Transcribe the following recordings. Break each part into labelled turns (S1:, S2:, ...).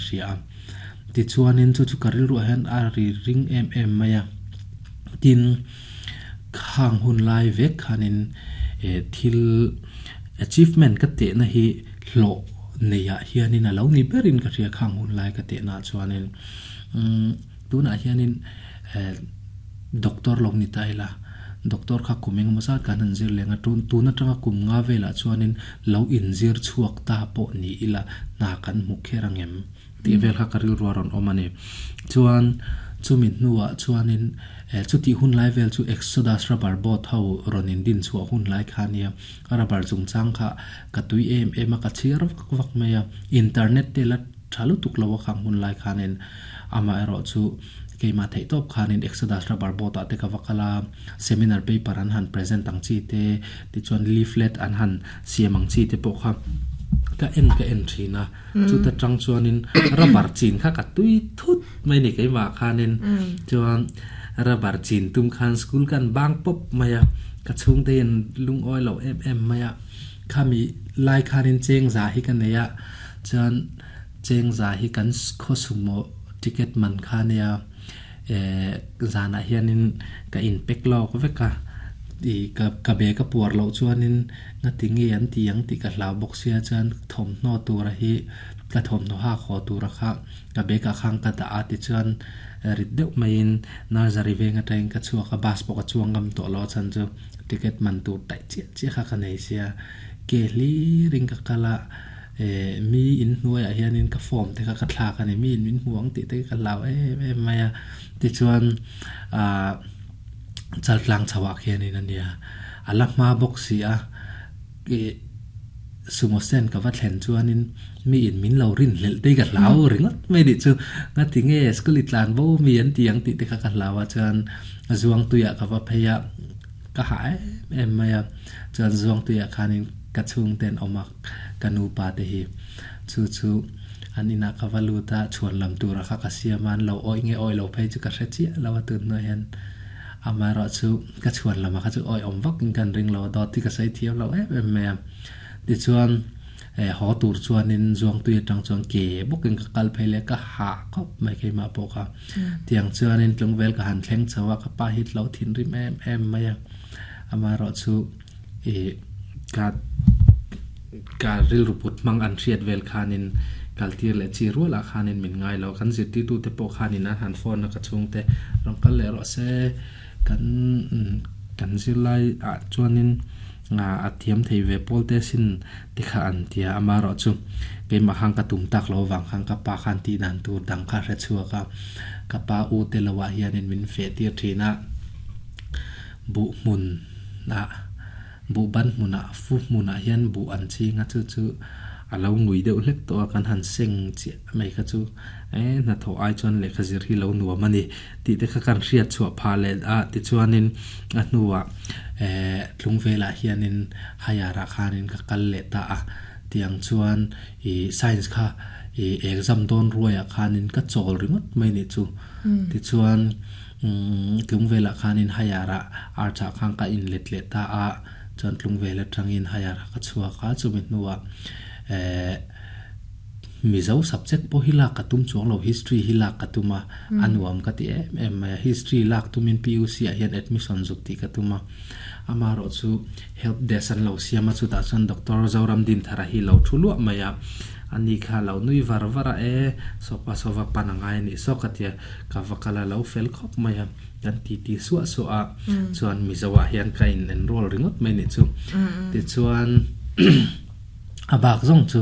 S1: hria a. Tichuanin chu chu ka rilruah hian a ri ring em em mai a. Tin, khang hun lai vek khanin thil achievement ka tehna hi hlawh neiah hianin a lo ni berin ka hria khang hun lai ka tehnaah chuanin tunah hianin doctor lo ni ta ila doctor kha kum engemaw zat kan han zir leng a tun tun atanga kum nga velah chuanin lo inzir chhuak ta pawh ni ila hna kan hmu kher angem tih vel kha ka rilru a rawn awm a ni. Chuan chumi hnuah chuanin eh chutih hun lai vel chu Exodus rubber boat ho rawn indin chhuah hun lai kha a nia. Rubber chungchang kha ka tui em em a, ka chhiar vak vak mai a. Internet te la tha lutuk lo a khang hun lai khanin amaherawh chu keimah theih tawp khanin Exodus rubber boat ah te ka va kal a, seminar paper an han present ang chi te, tichuan leaflet an han siam ang chi te pawh kha ka en ka en thin a. Chuta tang chuanin rubber chin kha ka tui thut mai ni keimah khanin chuan rubber chin tum khan school kan bang pawp mai a, ka chhungte hian lungawi lo em em mai a, khami lai khanin chengza hi ka nei a, chuan chengza hi kan khaw sumo ticket man kha nia eh zanah hianin ka inpek lawk vek a, ih ka ka bag a puar loh chuanin Ngati nge an ti ang tih ka hlau bawk sia chuan thawmhnaw tura hi ka thawmhnaw hak haw tura kha ka bag ah khan ka dah a tichuan rit deuh maiin nursery veng atangin ka chhuak a bus pawh ka chuang ngam tawh lo a chhan chu ticket man tur taih chiah chiah kha ka nei sia ke hlir in ka kal a eh mi in hnuaiah hianin ka form te kha ka thlak a ni mi in min hmu ang tih te ka hlau em em mai a tichuan ah. Chaltlang chho ah khianin a nia. A la hma bawk si a, ih sumo stand ka va thlen chuanin mi in min lo rin hlelh te hi ka hlau ringawt mai nih chu. Ngati nge school i tlan bo mi an ti ang tih te kha ka hlau a, chuan Zuangtui ah ka va phei a, ka hah em em mai a, chuan Zuangtui ah khanin ka chhungte an awm a, ka nupa te hi chu chu an inah ka va lut a, chhuan lam tura kha ka siam a, an lo awih nge awih lo phei chu ka hre chiah lo a tun hnuai hian amaherawh chu ka chhuan lamah kha chu awih awm vak in kan ring lo a, dawt hi ka sawi thiam lo em em mai a. Tichuan eh haw tur chuanin Zuangtui atang chuan ke bawkin ka kal phei leh ka hah khawp mai keimah pawh kha. Tiang chuanin tlungvel ka han thleng chho a, ka pa hi lo thinrim em em mai a, amaherawh chu ih ka ka rilru put hmang an hriat vel khanin kal tir leh chi rualah khanin min ngai lo. Kan zirtirtute pawh khanin an han phone a ka chhungte rawn kal leh rawh se kan kan zirlai ah chuanin a thiam thei ve pawl te sin ti kha an ti a amaherawhchu keimah khan ka tum tak loh avang khan ka pa khan tih dan tur dang kha hre chhuak a ka pa u te lo ah hianin min feh tir thin a. Buh hmun ah buh ban hmun ah fu hmun ah hian buh an ching a chu chu a lo ngui deuh hlek tawh a kan han seng chiah mai kha chu eh hnathawh ai chuan lehkha zir hi lo nuam a ni tih te kha kan hriat chhuah phah leh a tichuanin a hnuah eh tlung velah hianin higher ah khanin ka kal leh ta a tiang chuan ih science kha ih exam dawn ruaiah khanin ka chawl ringawt mai nih chu tichuan. Tlungvelah khanin Hayar-ah Arch-ah khan ka inlet leh ta a, chuan Tlungvel atangin Hayar-ah ka chhuak a, chumi hnuah eh Mizo subject pawh hi lak ka tum chuang lo, History hi lak ka tum a, a nuam ka ti em em mai a, History lak tumin PUC-ah hian admission zuk tih ka tum a, amaherawh chu help desk an lo siam a, chutah chuan Doctor Zoram Dinthara hi lo thu luah mai a, ani kha lo nui var var a, e sawpa sawva pan a ngai a nih saw ka ti a. Ka va kal a lo fel khawp mai a, kan ti ti suah suah a, chuan Mizo ah hian ka in enroll ringawt mai nih chu. Tichuan a bak zawng chu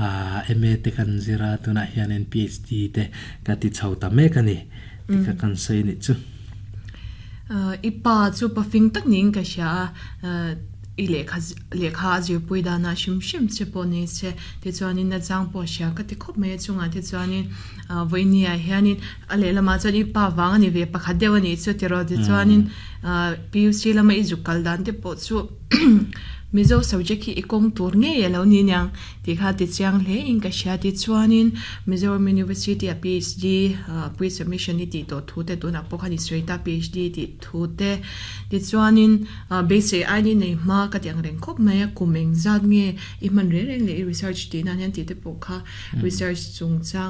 S1: ah MA te kan zir a, tunah hianin PhD te ka ti chho ta mek a ni tih kha kan sawi nih chu.
S2: I pa chu pa fing tak niin ka hria a, I lehkha lehkha a zirpui danah hrim hrim che pawh ni se tichuanin a chang pawh hria ka ti khawp mai a chungah te chuanin ah vawinia hianin a lehlamah chuan i pa vang a ni ve pakhat deuh a nih chu tiraw tichuanin ah PUC lama i zuk kal dan te pawh chu Mizo subject hi i kawng tur ngei a lo ni aniang tih kha ti chiang hle in ka hria tichuanin Mizoram University a PhD ah pre submission i tih tawh thu te tunah pawh khan i sawi ta PhD tih thu te tichuanin Beisei aini nei hma ka ti ang reng khawp mai a, kum engzat nge i hman reng reng leh i research tih nan hian tih te pawh kha research chungchang.